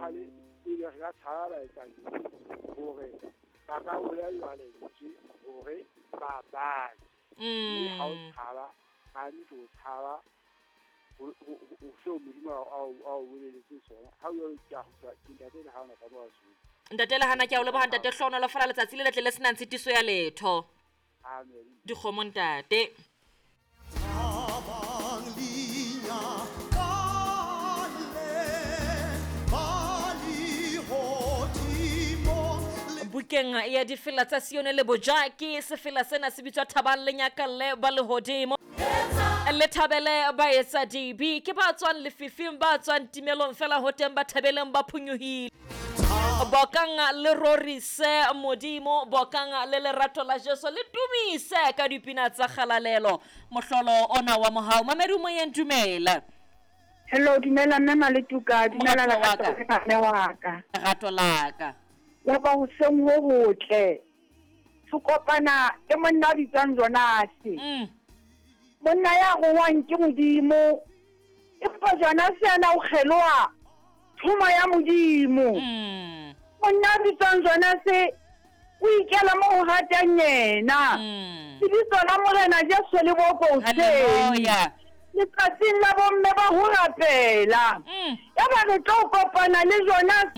etsahale ebe re ka tshaba baetsadibe hore ba ka bolellwa lentswe hore ba bake. Mme ha o tshaba, hantle o tshaba ho seo Modimo a o boleletseng sona. Ha o jwalo ke a kgutla, ke Ntate Lehana ka mo Basotho. Ntate Lehana, ke a o leboha Ntate, hlohonolofala letsatsi le letle le senang tshitiso ya letho. Amen. Dikgomo Ntate. Bukeng ya difela tsa Sione le Bojaki, sefela sena se bitswa Thabang le Nyakalle ba lehodimo. Le thabele baetsa dibe, ke ba tswang lefifing, ba tswang timelong, fela ho teng ba thabeleng ba phonyohile. Bokang le rorise Modimo, bokang le lerato la Jesu, le tumise ka dipina tsa kgalalelo. Mohlolo ona wa mohau. Mamedi o moyeng, dumela. Hello, dumela mme Maletuka, dumela Moratuwa wa lerato mme wa ka. Lerato la ka. Ya ba hoseng ho hotle. Re kopana le monna a bitswang Jonase. Monna ya rongwang ke Modimo. Empa Jonase yena o kgeloha thomo ya Modimo. Monna a bitswang Jonase o ikela mo ho ratang yena. Lebitso la Morena Jesu le bokwe hoseng. Hallelujah. Letsatsing la bomme ba ho rapela. Yaba re tlo kopana le Jonase.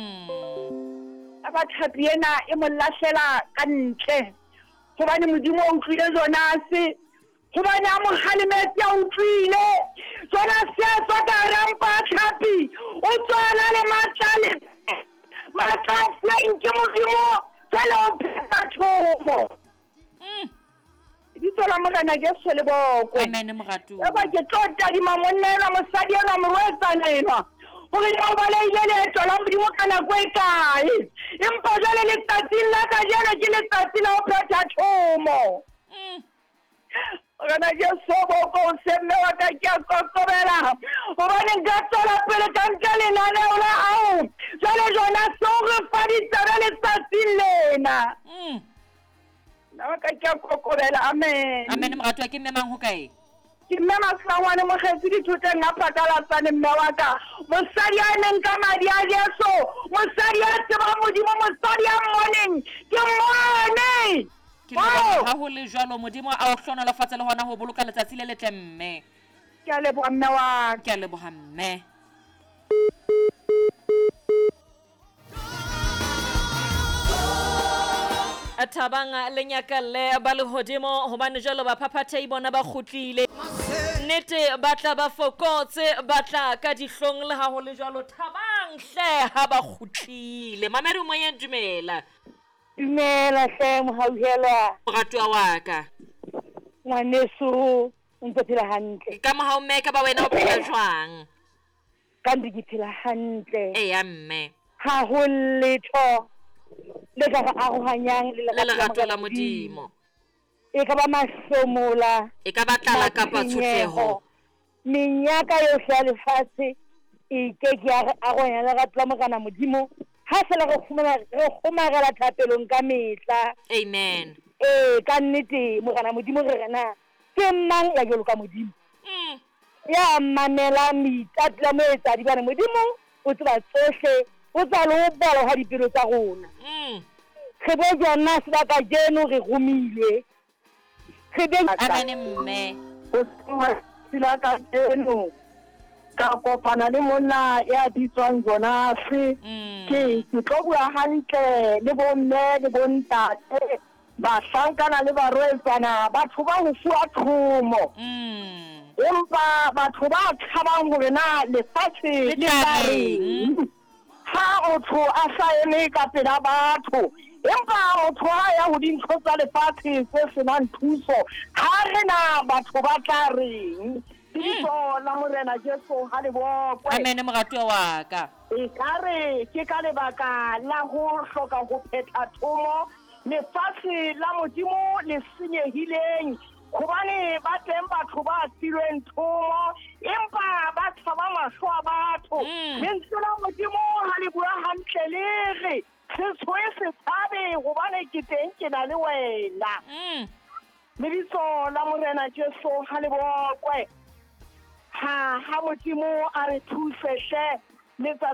Yaba tlhapi ena e mo lahlela ka ntle. Hobane Modimo o utlwile Jonase. Hobane a mo kgalemetse a utlwile. Jonase a tswa ka hara mpa ya tlhapi. O tswa a na le matla le matla a fuweng ke Modimo. Jwale o phetha thomo. Lebitso la Morena Jesu le bokwe. Amen, moratuwa. Yaba ke tlo tadima monna enwa, mosadi enwa, morwetsana enwa, hore na o balehile leeto la Modimo ka nako e kae. Empa jwale letsatsing la kajeno ke letsatsi la ho phetha thomo. Morena Jesu o bokwe hoseng, mme wa ka ke a kokobela, hobane nka tswela pele ka nka lenaneo la hao. Jwale Jonase o re fa ditsebe letsatsing lena. Nna wa ka ke a kokobela. Amen. Amen, moratuwa. Ke mme mang ho kae? Ke mme Masangwane Mokgetsi dithoteng a Phatalatsane, mme wa ka. Mosadi a emeng ka madi a Jesu, mosadi a tsebang Modimo, mosadi a mmoneng, ke mmone. Ke leboha ha ho le jwalo. Modimo a o hlohonolofatse le hona ho boloka letsatsi le letle, mme. Ke a leboha, mme wa ka. Ke a leboha, mme. Thabang le nyakalle ba lehodimo, hobane jwalo baphaphathehi bona ba kgutlile. Nnete ba tla ba fokotse, ba tla ka dihlong, le ha ho le jwalo thabang hle ha ba kgutlile. Mamedi o moyeng, dumela. Dumela hle mohauhelwa. Moratuwa wa ka. Ngwaneso, o ntse phela hantle. Ka mohau mme, ka ba wena o phela jwang? Ka ntse ke phela hantle. Eya mme. Ha ho letho le ka re arohanyang le Le lerato la Modimo. E ka ba mahlomola, E ka ba tlala kapa tshotleho. Menyaka yohle ya lefatshe e ke ke ya re arohanya le lerato la Morena Modimo, ha feela re kgomela, re kgomarela thapelong ka mehla. Amen. Ee, ka nnete Morena Modimo re re na ke mang ya jwalo ka Modimo? Ya mamelang meitato ya moetsadibe, hobane Modimo o tseba tsohle, o tseba le ho bala hwa dipelo tsa rona. Re bo Jonase ba kajeno re romilwe. Re be Amen mme. Hoseng hwa letsatsi la kajeno ka kopana le monna ya bitswang Jonase. Ke ke tlo bua hantle le bomme le bontate, bahlankana le barwetsana, batho ba ho fuwa thomo. Empa batho ba tshabang hore na lefatshe Le le tla tla reng. reng ha motho a sa eme ka pela batho. Empa motho ha ya ho dintho tsa lefatshe tse senang thuso, ha re na batho ba tla reng. Lebitso la Morena Jesu ha le bokwe. Amen, moratuwa wa ka. Ekare ke ka lebaka la ho hloka ho phetha thomo, lefatshe la Modimo le senyehileng, hobane ba teng batho ba filweng thomo, empa ba tshaba mahlo a batho. Lentswe la Modimo ha le bua hantle le re, se tshohe se tshabe, hobane ke teng ke na le wena. Lebitso la Morena Jesu ha le bokwe. Ha ha Modimo a re thuse hle letsatsi.